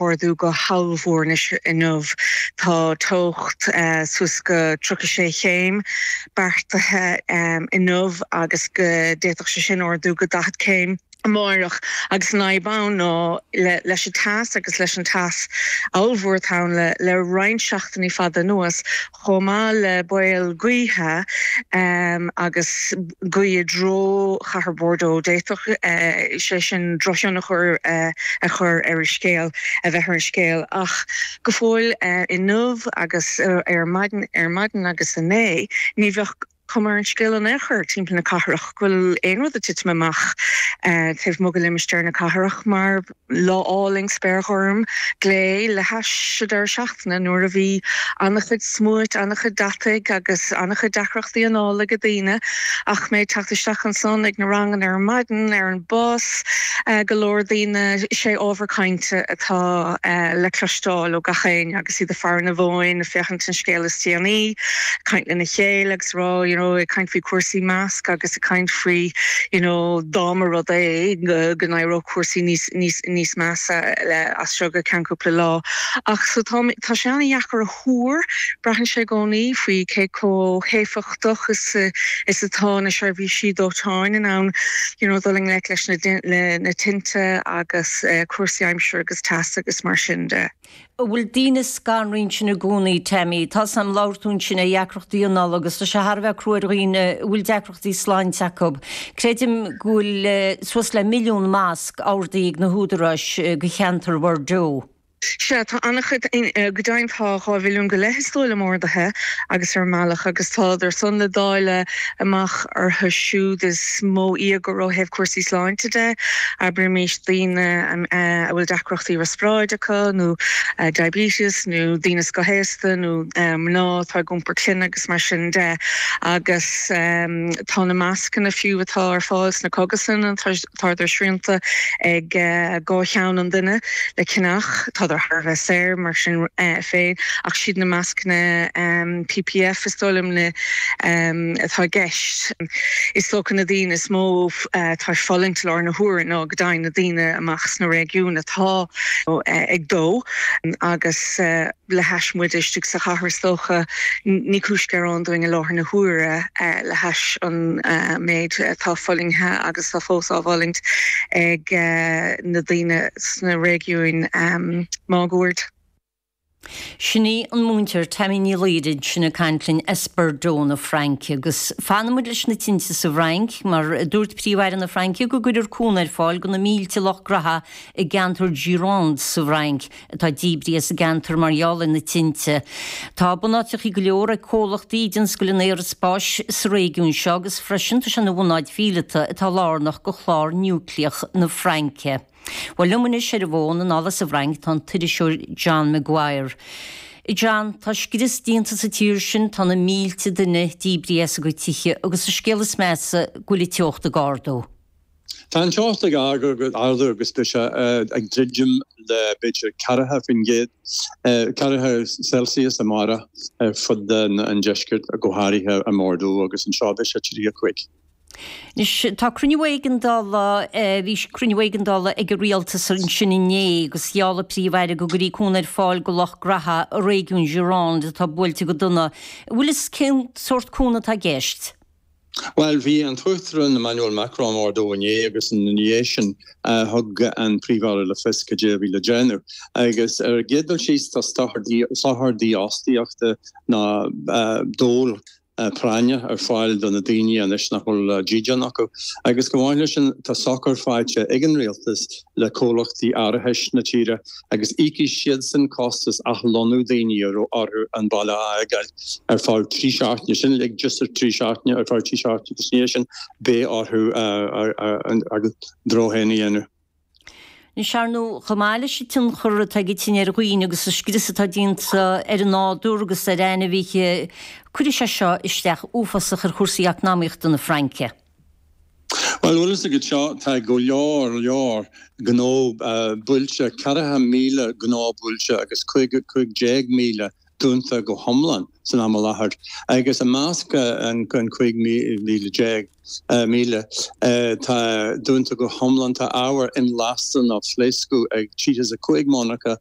Ardú go hollmhór anois inniu. Tá teocht suas go 36 chéim beartaithe inniu agus go d'fhéadfadh sé sin ardú go 40 céim amáireach agus an fhadhb ann ná leis an teas agus leis an teas ollmhór atá ann le roinnt seachtainí fada anuas chomh maith le baol gaoithe agus gaoth i dtreo chathair Bordeaux. D'fhéadfadh sé sin drochthionchar a chur ar an scéal, a bheith ar an scéal. Ach go fóill inniu agus ar maidin, ar maidin agus inné, ní bheadh cuma ar an scéal in aon chor timpeall na cathrach go bhfuil aon rud ag titim amach taobh amuigh de limistéar na cathrach mar Lá álainn, spéir ghorm, glé, le hais an deireadh seachtaine nuair a bhí an-chuid smúit, an-chuid deataigh agus an-chuid deacrachtaí anála ag daoine. Ach mé ag teacht isteach ansan ag na ranganna ar maidin, ar an bus, go leor daoine, sé ábhar cainte atá le cloisteáil ó gach éinne agus iad ag faire na bhfóin, ag féachaint an scéal is déanaí, ag caint lena chéile agus ag rá, you know, ag caint faoi chúrsaí masc agus ag caint faoi, you know, dá mba rud é go n-éireodh cúrsaí níos, níos, níos measa le as seo go ceann cúpla lá. Ach so tá, tá sé an-dheacair a thuar, braitheann sé i gcónaí faoi cé chomh héifeachtach is, is atá na seirbhísí dóiteáin in ann you know dul i ngleic leis na, le na tinte agus cúrsaí aimsire agus teasa agus mar sin de. An bhfuil daoine scanraithe ansin i gcónaí, Tammy? Tá 's a'm, labhair tú ansin ar dheacrachtaí anála agus tá sé thar a bheith crua ar dhaoine a bhfuil deacrachtaí sláinte acu. Creidim go bhfuil suas le milliún masc ordaithe ag na húdaráis do cheantar Bhordeaux. Sea, tá an-chuid, go deimhin tá 2 mhilliún go leith is dóigh liom ordaithe agus ar a mbealach agus tádar san le dáileadh amach orthu siúd is mó íogair ó thaobh cúrsaí sláinte de, abraimis daoine a bhfuil deacrachtaí riospráide acu nó diabetes nó daoine scothaosta nó mná atá ag iompar clainne agus mar sin de. Agus tá na mascanna fiú atá ar fáil sna cógaslanna, tádar srianta ag 2 cheann an duine le ceannach, tádar thar a bheith saor mar sin féin ach siad na mascanna PPF is dóigh liom na atá i gceist. Is dócha na daoine is mó atá ag fulaingt i láthair na huaire ná go deimhin na daoine amach sna réigiúin atá ag dó agus le hais muide istigh sa chathair is dócha ní cúis gearáin dúinn i láthair na huaire le hais an méid atá fulaingthe agus atá fós á bhfulaingt ag na daoine sna réigiúin máguaird. Sin í an múinteoir Tammy Ní Laoire ansin ag caint linn as Bordeaux na Fraince. Agus fanfaidh muid leis na tinte sa bhFrainc, mar dúirt Príomh-Aire na Fraince go gcuirfear cúnamh ar fáil do na mílte lucht graithe i gceantar Gironde sa bhFrainc atá díbrithe as an gceantar mar gheall ar na tinte. Tá bunáiteachaí go leor ag comhlachtaí i dtionscal an aeraspáis sa réigiún seo agus freisin tá sé ina bhunáit mhíleata atá lárnach do chlár núicléach na Fraince. Bhuel, liom anois ar an bhfón anall as an bhFrainc tá an t-iriseoir John Maguire. A John, tá scrios déanta sa tír sin, tá na mílte duine díbrithe as a gcuid tithe agus an scéal is measa go bhfuil an teocht ag ardú. Tá an teocht ag ardú agus beidh sé ag druidim le b'fhéidir 40%, 40 Celsius amárach ar fud an deiscirt, go háirithe i mBordeaux agus anseo beidh sé 35. Anois, tá cruinniú éigeandála, bhí cruinniú éigeandála ag an rialtas ansin inné agus gheall an Príomh-Aire go gcuirfí cúnamh ar fáil do lucht graithe i réigiún Gironde atá buailte go dona. An bhfuil fhios cén sórt cúnamh atá i gceist? Bhuel, bhí an tUachtarán Emmanuel Macron i mBordeaux inné agus ina dhiaidh sin thug an Príomh-Aire le fios cad é a bhí le déanamh. Agus ar an gcéad dul síos tá sochar dífhostaíochta nó dól práinne ar fáil do na daoine anois nach bhfuil dídean acu. Agus chomh maith leis sin, tá sochar faighte ag an rialtas le comhlachtaí árachais na tíre agus íocfaidh siadsan costas athlonnú daoine a raibh orthu an baile a fhágáil ar feadh 3 seachtaine. Sin uilig just ar 3 seachtaine, ar feadh 3 seachtaine agus ina dhiaidh sin beidh orthu a dtreo féin a dhéanamh. Anois, ar ndóigh, chomh maith leis an tionchar atá ag an tine ar dhaoine agus an scrios atá déanta ar an nádúr agus ar ainmhithe, cuirfidh sé seo isteach uafásach ar chúrsaí eacnamaíochta na Fraince. Bhuel, bhfuil fhios agat seo, tá go leor, leor gnó buailte, 40,000 gnó buailte agus 15,000. dúnta go hiomlán san am i láthair agus i measc an 15,000 míle tá dúnta go hiomlán tá ábhar inlasta nó phléascadh ag 35 monarcha.